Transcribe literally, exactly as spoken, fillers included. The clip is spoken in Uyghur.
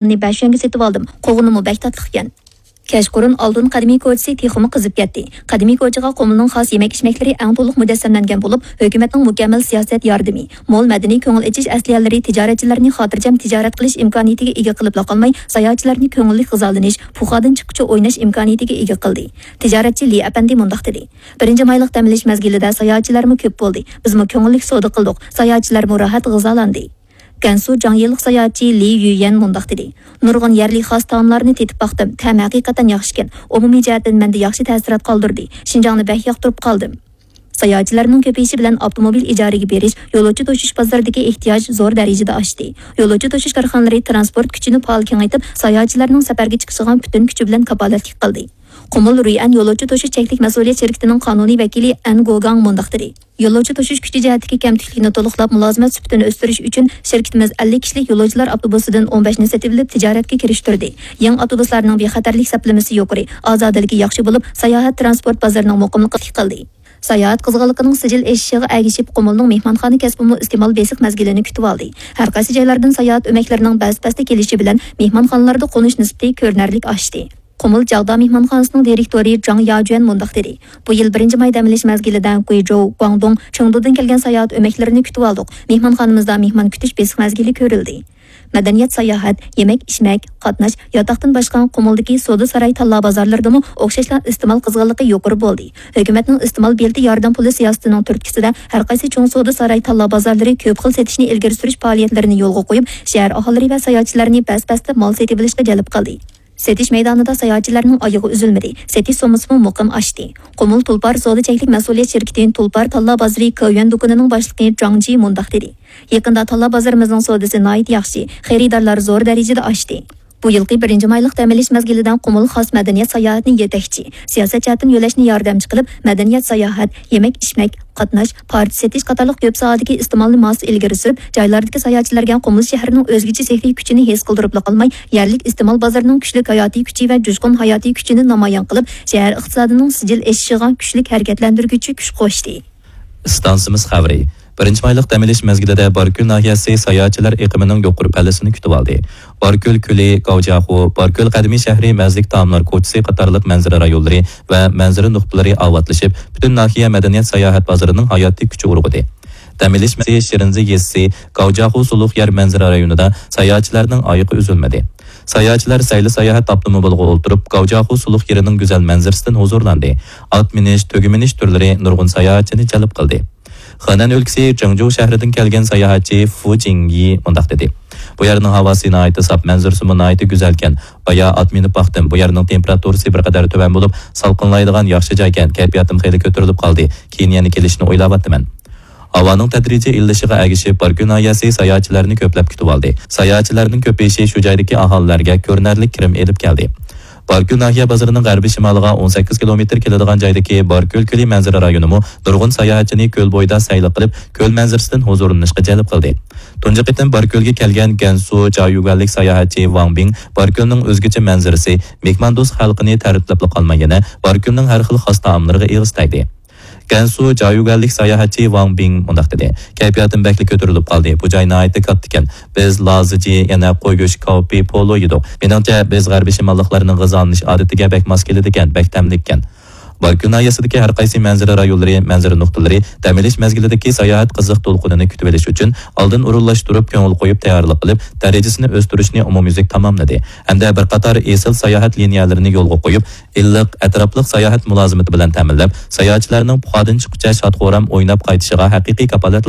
بەش يۈەنگە سېتىۋالدىم. قوغۇنىمۇ بەك تاتلىقكەن. كەچقۇرۇن ئالتۇن قەدىمىي كوچىسى تېخىمۇ قىزىپ كەتتى. قەدىمىي كوچىغا قۇمۇلنىڭ خاس يېمەك-ئىچمەكلىرى ئەڭ تولۇق مۇجەسسەملەنگەن بولۇپ، ھۆكۈمەتنىڭ مۇكەممەل سىياسەت ياردىمى، مول مەدەنىي كۆڭۈل ئېچىش ئەسلىھەلىرى تىجارەتچىلەرنى خاتىرجەم تىجارەت قىلىش ئىمكانىيىتىگە ئىگە قىلىپلا قالماي، ساياھەتچىلەرنى كۆڭۈللۈك غىزالىنىش، پۇخادىن چىققۇچە ئويناش ئىمكانىيىتىگە ئىگە قىلدى. تىجارەتچى لى ئەپەندى مۇنداق دېدى: «بىرىنچى مايلىق دەم ئېلىش مەزگىلىدە ساياھەتچىلەرمۇ كۆپ بولدى. بىزمۇ كۆڭۈللۈك سودا قىلدۇق. ساياھەتچىلەرمۇ راھەت غىزالاندى.» گەنسۇ جاڭيىلىق ساياھەتچى لى يۈيەن مۇنداق دېدى: «نۇرغۇن يەرلىك خاس تائاملارنى تېتىپ باقتىم. تەمى ھەقىقەتەن ياخشىكەن. ئومۇمىي جەھەتتىن مەندە ياخشى تەسىرات قالدۇردى. شىنجاڭنى بەك ياقتۇرۇپ قالدىم.» ساياھەتچىلەرنىڭ كۆپىيىشى بىلەن ئاپتوموبىل ئىجارىگە بېرىش، يولۇچى توشۇش بازىرىدىكى ئېھتىياج زور دەرىجىدە ئاشتى. يولۇچى توشۇش كارخانىلىرى تىرانسپورت كۈچىنى پائال كېڭەيتىپ، ساياھەتچىلەرنىڭ سەپەرگە چىقىشىغا پۈتۈن كۈچى بىلەن كاپالەتلىك قىلدى. قۇمۇل رۇيئەن يولۇچى توشۇش چەكلىك مەسئۇلىيەت شىركىتىنىڭ قانۇنىي ۋەكىلى ئەن گوگاڭ مۇنداق دېدى: «يولۇچى توشۇش كۈچى جەھەتتىكى كەمتۈكلۈكنى تولۇقلاپ، مۇلازىمەت سۈپىتىنى ئۆستۈرۈش ئۈچۈن شىركىتىمىز ئەللىك كىشىلىك يولۇچىلار ئاپتوبۇسىدىن ئون بەشنى سېتىۋېلىپ، تىجارەتكە كىرىشتۈردى. يېڭى ئاپتوبۇسلارنىڭ بىخەتەرلىك سەپلىمىسى يۇقىرى، ئازادىلىكى ياخشى بولۇپ، ساياھەت تىرانسپورت بازىرىنىڭ مۇقىملىقىنى قىلدى.» ساياھەت قىزغىنلىقىنىڭ سىجىل ئېشىشىغا ئەگىشىپ، قۇمۇلنىڭ مېھمانخانا كەسپىمۇ ئىستېمال بېسىق مەزگىلىنى كۈتۈۋالدى. ھەر قايسى جايلاردىن ساياھەت ئۆمەكلىرىنىڭ بەس-بەستە كېلىشى بىلەن مېھمانخانىلاردا قونۇش نىسبىتى كۆرۈنەرلىك ئاشتى. قۇمۇل جاغدا مېھمانخانىسىنىڭ دىرېكتورى جاڭ ياجۈەن مۇنداق دېدى: «بۇ يىل بىرىنچى ماي دەم ئېلىش مەزگىلىدە گۇيجوۋ، گۇاڭدۇڭ، چېڭدۇدىن كەلگەن ساياھەت ئۆمەكلىرىنى كۈتۈۋالدۇق. مېھمانخانىمىزدا مېھمان كۈتۈش بېسىق مەزگىلى كۆرۈلدى.» مەدەنىيەت ساياھەت، يېمەك-ئىچمەك، قاتناش، ياتاقتىن باشقا قۇمۇلدىكى سودا ساراي تاللا بازارلىرىدىمۇ ئوخشاشلا ئىستېمال قىزغىنلىقى يۇقىرى بولدى. ھۆكۈمەتنىڭ ئىستېمال بېلىتى ياردەم پۇلى سىياسىتىنىڭ تۈرتكىسىدە ھەر قايسى چوڭ سودا ساراي تاللا بازارلىرى كۆپ خىل سېتىشنى ئىلگىرى سۈرۈش پائالىيەتلىرىنى يولغا قويۇپ، شەھەر ئاھالىلىرى ۋە ساياھەتچىلەرنى بەس-بەستە مال سېتىۋېلىشقا جەلپ قىلدى. سېتىش مەيدانىدا ساياھەتچىلەرنىڭ ئايىغى ئۈزۈلمىدى، سېتىش سوممىسىمۇ مۇقىم ئاشتى. قۇمۇل تۇلپار سودا چەكلىك مەسئۇلىيەت شىركىتى تۇلپار تاللا بازىرى كاۋيۈەن دۇكىنىنىڭ باشلىقى جاڭ جى مۇنداق دېدى: «يېقىندا تاللا بازىرىمىزنىڭ سودىسى ناھايىتى ياخشى، خېرىدارلار زور دەرىجىدە ئاشتى.» بۇ يىلقى بىرىنچى مايلىق دەم ئېلىش مەزگىلىدە قۇمۇل خاس مەدەنىيەت ساياھەتنى يېتەكچى، سىياسەت جەھەتتىن يۆلەشنى ياردەمچى قىلىپ، مەدەنىيەت ساياھەت، يېمەك-ئىچمەك، قاتناش، پارچە سېتىش قاتارلىق كۆپ ساھەدىكى ئىستېمالنى ماس ئىلگىرى سۈرۈپ، جايلاردىكى ساياھەتچىلەرگە قۇمۇل شەھىرىنىڭ ئۆزگىچە سېھرىي كۈچىنى ھېس قىلدۇرۇپلا قالماي، يەرلىك ئىستېمال بازىرىنىڭ كۈچلۈك ھاياتىي كۈچى ۋە جۇشقۇن ھاياتىي كۈچىنى نامايان قىلىپ، شەھەر ئىقتىسادىنىڭ سىجىل ئېشىشىغا كۈچلۈك ھەرىكەتلەندۈرگۈچى كۈچ قوشتى. ئىستانسىمىز خەۋىرى. بىرىنچى مايلىق دەم ئېلىش مەزگىلىدە باركۆل ناھىيەسى ساياھەتچىلەر ئېقىمىنىڭ يۇقىرى پەللىسىنى كۈتۈۋالدى. باركۆل كۆلى، گاۋجياخۇ، باركۆل قەدىمىي شەھىرى، مەززىلىك تائاملار كوچىسى قاتارلىق مەنزىرە رايونلىرى ۋە مەنزىرە نۇقتىلىرى ئاۋاتلىشىپ، پۈتۈن ناھىيە مەدەنىيەت ساياھەت بازىرىنىڭ ھاياتىي كۈچى ئۇرغۇدى. دەم ئېلىش مەزگىلى شىرىنزى يېزىسى، گاۋجياخۇ سۇلۇق يەر مەنزىرە رايونىدا ساياھەتچىلەرنىڭ ئايىغى ئۈزۈلمىدى. ساياھەتچىلەر سەيلە ساياھەت ئاپتوموبىلىغا ئولتۇرۇپ، گاۋجياخۇ سۇلۇق يېرىنىڭ گۈزەل مەنزىرىسىدىن ھۇزۇرلاندى. ئات مىنىش، تۆگە مىنىش تۈرلىرى نۇرغۇن ساياھەتچىنى جەلپ قىلدى. خېنەن ئۆلكىسى جېڭجۇ شەھىرىدىن كەلگەن ساياھەتچى فۇ جىڭيى مۇنداق دېدى: «بۇ يەرنىڭ ھاۋاسى ناھايىتى ساپ، مەنزىرىسىمۇ ناھايىتى گۈزەلكەن. بايا ئات مىنىپ باقتىم. بۇ يەرنىڭ تېمپېراتۇرىسى بىر قەدەر تۆۋەن بولۇپ، سالقىنلايدىغان ياخشى جايكەن. كەيپىياتىم خېلى كۆتۈرۈلۈپ قالدى. كېيىن يەنە كېلىشنى ئويلاۋاتىمەن.» ھاۋانىڭ تەدرىجىي ئىللىشىغا ئەگىشىپ، باركۆل ناھىيەسى ساياھەتچىلەرنى كۆپلەپ كۈتۈۋالدى. ساياھەتچىلەرنىڭ كۆپىيىشى شۇ جايدىكى ئاھالىلەرگە كۆرۈنەرلىك كىرىم ئېلىپ كەلدى. باركۆل ناھىيە بازىرىنىڭ غەربىي شىمالىغا ئون سەككىز كىلومېتىر كېلىدىغان جايدىكى باركۆل كۆلى مەنزىرە رايونىمۇ نۇرغۇن ساياھەتچىنى كۆل بويىدا سەيلە قىلىپ، كۆل مەنزىرىسىدىن ھۇزۇرلىنىشقا جەلپ قىلدى. تۇنجى قېتىم باركۆلگە كەلگەن گەنسۇ جيايۈگۈەنلىك ساياھەتچى ۋاڭ بىڭ باركۆلنىڭ ئۆزگىچە مەنزىرىسى، مېھماندوست خەلقىنى تەرىپلەپلا قالماي، يەنە باركۆلنىڭ ھەر خىل خاس تائاملىرىغا ئېغىز تەگدى. گەنسۇ جيايۈگۈەنلىك ساياھەتچى ۋاڭ بىڭ مۇنداق دېدى: «كەيپىياتىم بەكلا كۆتۈرۈلۈپ قالدى. بۇ جاي ناھايىتى كاتتىكەن. بىز لازىجى، يەنە قوي گۆشى، كاۋىپى، پولۇ يېدۇق. مېنىڭچە، بىز غەربىي شىماللىقلارنىڭ غىزالىنىش ئادىتىگە بەك ماس كېلىدىكەن، بەك تەملىككەن.» باركۆل ناھىيەسىدىكى ھەر قايسى مەنزىرە رايونلىرى، مەنزىرە نۇقتىلىرى دەم ئېلىش مەزگىلىدىكى ساياھەت قىزىق دولقۇنىنى كۈتۈۋېلىش ئۈچۈن ئالدىن ئورۇنلاشتۇرۇپ، كۆڭۈل قويۇپ تەييارلىق قىلىپ، دەرىجىسىنى ئۆستۈرۈشنى ئومۇميۈزلۈك تاماملىدى ھەمدە بىر قاتار ئېسىل ساياھەت لىنىيەلىرىنى يولغا قويۇپ، ئىللىق، ئەتراپلىق ساياھەت مۇلازىمىتى بىلەن تەمىنلەپ، ساياھەتچىلەرنىڭ پۇخادىن چىققۇچە شاد-خۇرام ئويناپ قايتىشىغا ھەقىقىي كاپالەتلىك